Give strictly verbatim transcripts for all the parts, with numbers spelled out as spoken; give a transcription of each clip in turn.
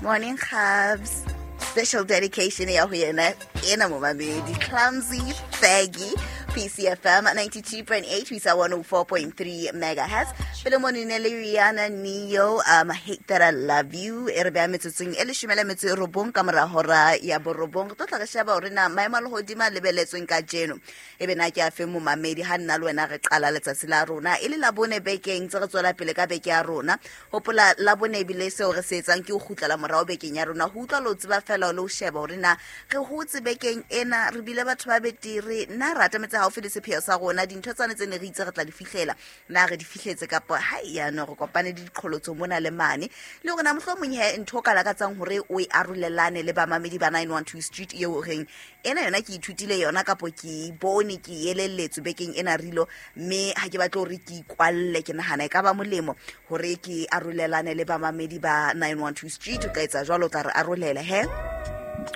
Morning, Cubs. Special dedication ya ho yena ena momamedi Clumsy Faggy. P C F M ninety-two point eight ho isa one oh four point three megahertz. Pele mo ne le Rihanna Neo, um "Hate That I Love You". E re beha metsotsong e leshome le metso e robong ka mora hora ya borobong. Re tlo tla re sheba hore na maemo a lehodimo a lebeletsweng kajeno e be na ke a feng, momamedi. Ha nna le wena re qala letsatsi la rona e le Labone bekeng tse re tswela pele ka beke ya rona. Hopola, Labone ebile seo re se etsang ke ho kgutlela morao bekeng ya rona, ho utlwa le ho tseba fela le ho sheba hore na re hotse bekeng ena, re bile batho ba betere na, re atametse haufi le sepheo sa rona, dintho tsane tse ne re itse re tla di fihlela na re di fihletse, kapa ha yano re kopane le diqholotso mona le mane, le hore na mohlomong he ntho o ka lakatsang hore o e arolelane le bamamedi ba nine one two Street eo o reng ena yona ke ithutile yona kapo ke bone ke elelletswe bekeng ena rilo, mme ha ke batle hore ke ikwalle, ke nahana e ka ba molemo hore ke arolelane le bamamedi ba nine one two Street. O ka etsa jwalo, o tla re arolela he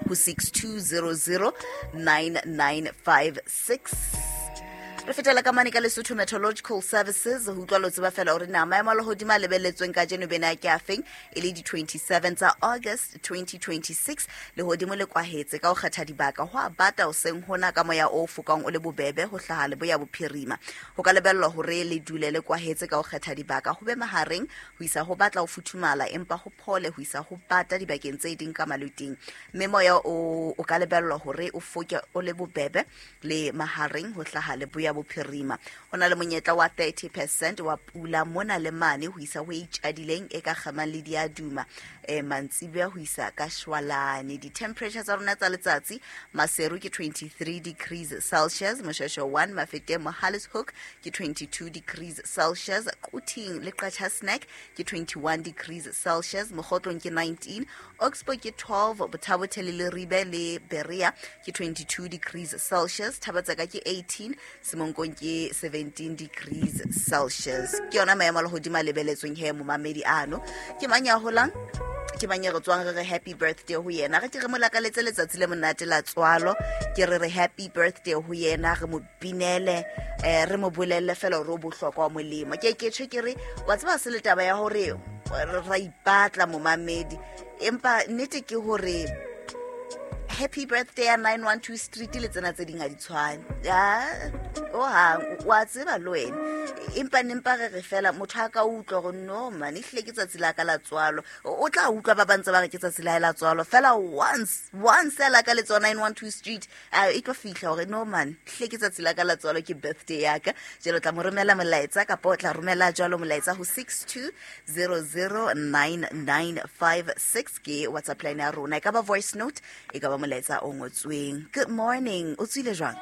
ho six two zero zero nine nine five six. Re fetela ka mane ka Lesotho Meteorological Services ho utlwa lo tseba fela hore na maemo a lehodimo a lebelletsweng kajeno bena ke a feng, e le di-twenty-seven tsa August twenty twenty-six. Lehodimo le kwahetse ka ho kgetha dibaka, ho a bata hoseng hona ka moya o fokang o le bobebe ho hlaha leboya bophirima. Ho ka lebellwa hore le dule le kwahetse ka ho kgetha dibaka, ho be mahareng ho isa ho batla ho futhumala, empa ho phole ho isa ho bata dibakeng tse ding ka maluting, mme moya o, o ka lebellwa hore o foke o le bobebe le mahareng ho hlaha leboya bophirima. Ho na le monyetla wa thirty percent wa pula mona le mane ho isa ho e itjadileng e ka kgamang le diaduma um mantsiboya ho isa ka shwalane. Di-temperature tsa rona tsa letsatsi: Maseru ke twenty-three degrees Celsius, Moshweshwe one, Mafeteng, Mohale's Hoek ke twenty-two degrees Celsius, Quthing le Qacha's Nek ke twenty-one degrees Celsius, Mokhotlong ke nineteen, Oxbow ke twelve, Botha-Bothe le Leribe le Berea ke twenty-two degrees Celsius, Thaba-Tseka ke eighteen, Semonkong ke seventeen degrees Celsius. Ke yona maemo a lehodimo a lebeletsweng he, momamedi. Ano ke mang ya holang, ke mang e re tswang re re happy birthday ho yena? Re ke re mo lakaletse letsatsi le monate la tswalo, ke re re happy birthday ho yena, re mo binele, um re mo bolelle fela hore o bohlokwa wa molemo. Ke ke tjho ke re wa tseba se le taba ya hore ra ipatla, momamedi, empa nnete ke hore happy birthday ya nine one two Street le tsena tse ding ha di tshwane ya ohang, wa tseba le wena, empa nempa re re fela motho a ka utlwa gore no man, ehlile ke tsatsi la ka la tswalo. O tla utlwa ba bantse ba re ke tsatsi la hae la tswalo fela once once a la ka le tswa nine one two Street, a e tlo fihla hore no man, hlile ke tsatsi la ka la tswalo, ke birthday ya ka. Jalo tla mo romela molaetsa kapa o tla romela jwalo molaetsa ho six two zero zero nine nine five six, ke WhatsApp line ya rona. E ka ba voice note, e ka ba molaetsa o ngotsweng. Good morning, o tswile jwang?